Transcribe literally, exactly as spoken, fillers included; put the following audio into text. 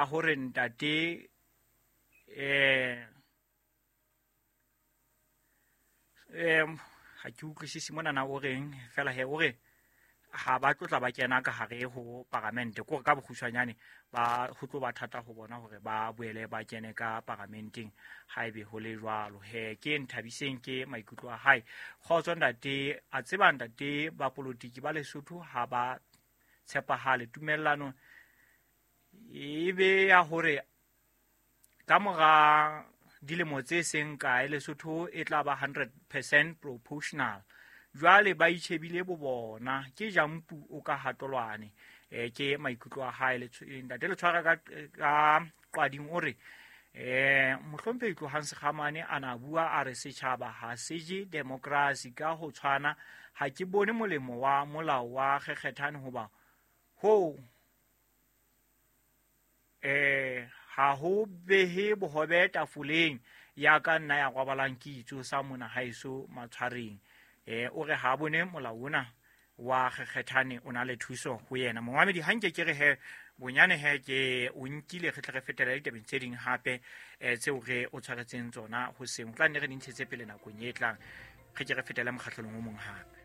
Hore ntate eh em ha ke utlwisise mona na o reng fela he o re ha ba tlotla ba kena ka hare ho paramente ko ka bokgutshwanyane ba ho tlo ba thata ho bona hore ba boele ba kene ka paramenteng haebe ho le jwalo. He ke Nthabiseng ke maikutlo a hae. Kgotso ntate, a tseba ntate ba politiki ba Lesotho ha ba tshepahale. Tumellano e be ya hore ka mora dilemo tse seng kae Lesotho e tla ba hundred percent proportional. Jwale ba itjhebile bo bona ke jampu o ka hatolwane. E ke maikutlo a hae. Ntate le tshwara ka ka qwading o re eh mohlomphehi Tlohang Sekgamane a na bua a re setjhaba ha se je democracy ka ho tshwana. Ha ke bone molemo wa molao wa kgekgethane hoba ho eh ha ho behe bohobe tafoleng ya ka nna ya robalang ke itso sa mona haeso matshwareng. Eh o re ha bone molao ona wa kgekgethane o na le thuso ho yena. Momamedi ha nke ke re he bonyane he ke o nkile re tle re fetela ditabeng tse ding hape eh tseo re o tshwaretseng tsona ho seng. Tla nne re di ntshetse pele nakong e tlang. Re ke re fetele mokgahlelong o mong hape.